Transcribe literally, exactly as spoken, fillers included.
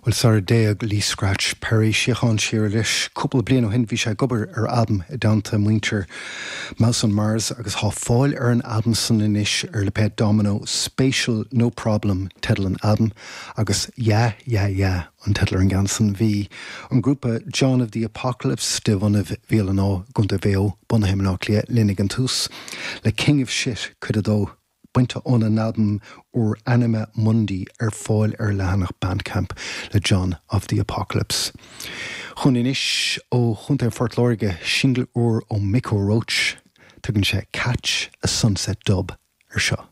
Well sara dtéadh Lee Scratch Perry síocháin síoraí leis cúpla bliain ó shin bhí sé ag obair ar albam i dteannta muintir Mouse on Mars agus tá fáil ar an albam san anois ar lipéad Domino Spatial No Problem teideal an albaim agus Yeah Yeah Yeah an teideal ar an gceann san bhí an grúpa John of the Apocalypse de bhunadh Bhéal an Átha Contae Mhaigh Eo bunaithe i mBaile Átha Cliath linn ag an tús le King of Shit cuid a dó bainte óna n-albam úr Anima Mundi ar fáil ar leathanach Bandcamp le John of the Apocalypse. Chun anois ó Chontae Phort Láirge single úr ó Micko Roach, tugann sé Catch a Sunset Dub ar seo.